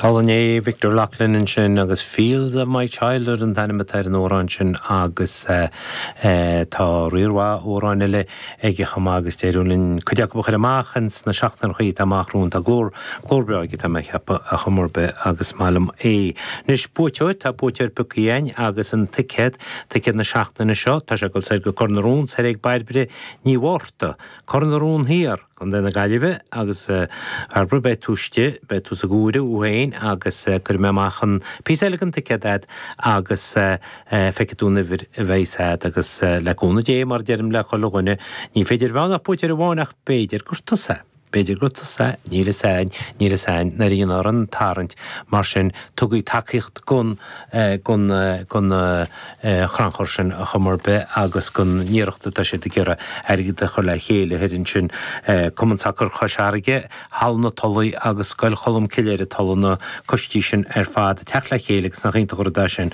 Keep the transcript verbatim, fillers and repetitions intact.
Álainn é Victor Loughlin ansin agus Fields of My Childhood an t-ainm atá ar an amhrán sin agus uh, uh, tá riar mhaith amhrán eile aige chomh maith agus d'éirigh linn cuid acu a chur amach ins na seachtainí atá amach romhainn tá glór glór breá aige tá mé ag ceapadh ar chuma ar bith agus maith liom é. Anois buaiteoir tá buaiteoir pioctha againn agus an ticéad ticéad na seachtaine seo tá sé ag dul soir go Cor na Rón soir ag Bairbre Ní Mhárta Cor na Rón Thiar Contae na Gaillimhe agus Bairbre beidh tú istigh beidh tú sa gcomhaireamh féin agus cuirfidh mé amach an píosa eile den ticéad duit agus feicfidh tú an uimhir a bheidh agat agus le cúnamh Dé mar deirim le chuile dhuine ní féidir bheith ach buaiteoir amháin ach b'fhéidir gur tusa. B'fhéidir gur tusa níl a fhios againn níl a fhios againn nuair a dhéanfar an tarraingt mar sin tugaigí tacaíocht gon gon gon chrannchur sin ar chuma ar bith agus gon iarracht atá siad ag iarraidh airgead a chur le chéile thoir ansin Cumann Sacair Chois Fharraige, Halla na Tulaí agus Scoil Cholm Cille ar an Tulaigh na coistí sin ar fad teacht le chéile agus nach iontach an rud é sin.